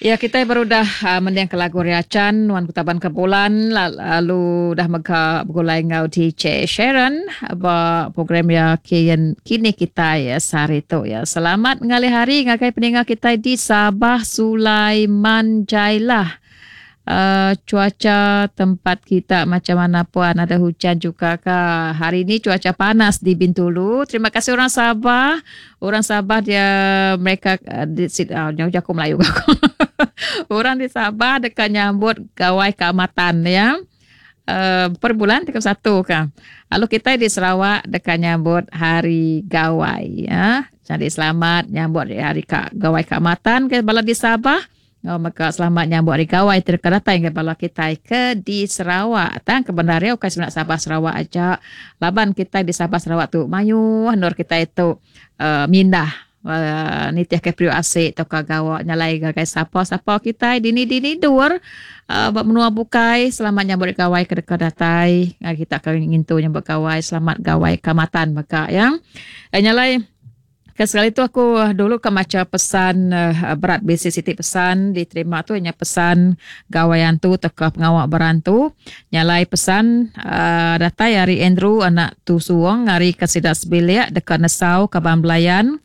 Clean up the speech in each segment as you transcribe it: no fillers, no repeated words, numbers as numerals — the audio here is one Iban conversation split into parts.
Ya kitai baru udah mending ke lagu Riachan nuan ku taban ke bulan lalu udah mega begulai enggau DJ Sharon ba program ya kian kini kitai sehari tu ya. Selamat ngalih hari ngagai peninga kitai di Sabah Sulaiman Jailah. Uh, cuaca tempat kita macam mana puan ada hujan juga ke hari ini cuaca panas di Bintulu terima kasih orang Sabah orang Sabah dia mereka uh, di uh, jauh jaku Melayu orang di Sabah dekat nyambut gawai Kaamatan ya uh, per bulan 31 ka lalu kita di Sarawak dekat nyambut hari gawai ya jadi selamat nyambut hari ka gawai Kaamatan ke bala di Sabah Enggau mega selamat nyambut Hari Gawai ti deka datai ngagai bala kitai ke di Sarawak. Tang ke bendar iya ukai semina Sabah Sarawak aja laban kitai di Sabah Sarawak tu mayuh endur kitai tu uhh mindah uhh nitihka periuk asi tauka gawa nyalai ngagai sapa-sapa kitai dini-dini endur uhh ba menua bukai selamat nyambut Hari Gawai ke deka datai ngagai kita ke ngintu nyambut gawai selamat Gawai Kaamatan mega iya. Nyalai. Ke sekali tu aku dulu ka macha pesan berat bisi siti pesan diterima tu inya pesan gawai antu tauka pengawa berantu. Nya alai pesan uhh datai ari Andrew anak Tusuong ari ke sida sebilik deka nesau kaban belayan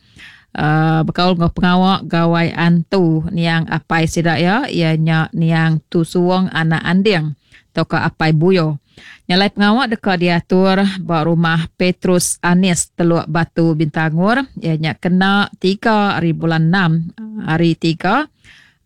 uhh bekaul enggau pengawa gawai antu niang apai sida iya, iya nya niang Tusuong anak Anding tauka apai Buyo. Nya alai pengawa deka diatur ba Rumah Petrus Anis Teluk Batu Bintangor iya nya kena tiga ari bulan enam hari tiga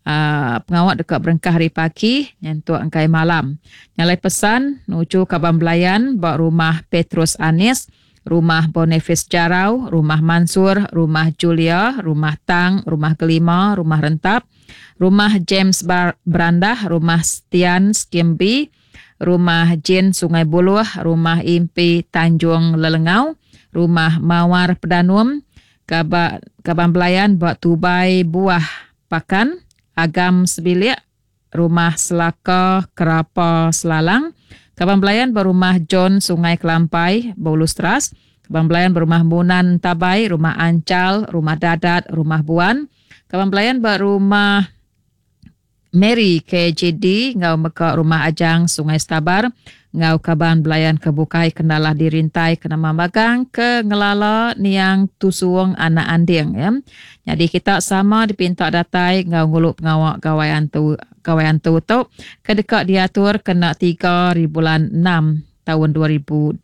uhh pengawa deka berengkah ari pagi nyentuk engkai malam. Nya alai pesan nuju kaban belayan ba Rumah Petrus Anis, Rumah Boniface Jarau, Rumah Mansur, Rumah Julia, Rumah Tang, Rumah Gelima, Rumah Rentap, Rumah James Berandah, Rumah Stian Skim B, Rumah Jin Sungai Buluh, Rumah Impi Tanjung Lelengau, Rumah Mawar Pedanum, Kaban Belayan ba Tubai Buah Pakan, Agam Sebilik, Rumah Selaka Kerapa Selalang, Kaban Belayan ba Rumah John Sungai Kelampai, Bulu Seras, Kaban Belayan ba Rumah Munan Tabai, Rumah Anchal, Rumah Dadat, Rumah Buan, Kaban Belayan ba Rumah Mary KJD enggau mega Rumah Ajang Sungai Stabar enggau kaban belayan ke bukai ke enda alah dirintai ke nama magang ke ngelala niang Tusuong anak Anding ya. Nyadi kita sama dipinta datai enggau ngulu pengawa Gawai Antu Gawai Antu tu ke deka diatur kena tiga hari bulan enam taun 2026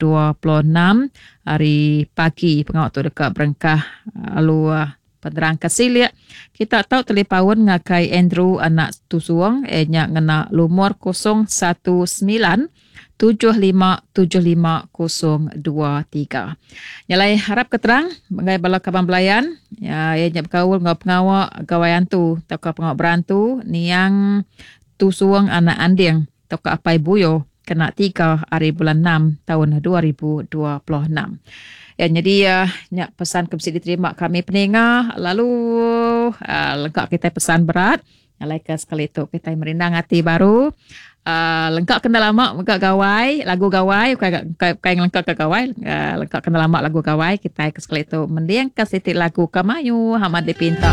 hari pagi pengawa tu deka berengkah lalu Penerang ke silik, kita tau telipaun ngagai Andrew anak Tusuong iya nya ngena lumur 019 7575023. Nya alai harap ke terang ngagai bala kaban belayan iya nya bekaul enggau pengawa Gawai Antu tauka pengawa berantu niang Tusuong anak Anding tauka Apai Buyo kena tiga ari bulan enam taun 2026. Ya nyadi nya pesan ke bisi diterima kami peninga lalu uh, lengka kitai pesan berat alai ke sekali tu kitai merindang ati baru uh, lengka kena lama mega gawai lagu gawai bukai bukai ngelengka ke gawai uh, lengka kena lama lagu gawai kitai ke sekali tu mending ke siti lagu ke mayuh amat dipinta.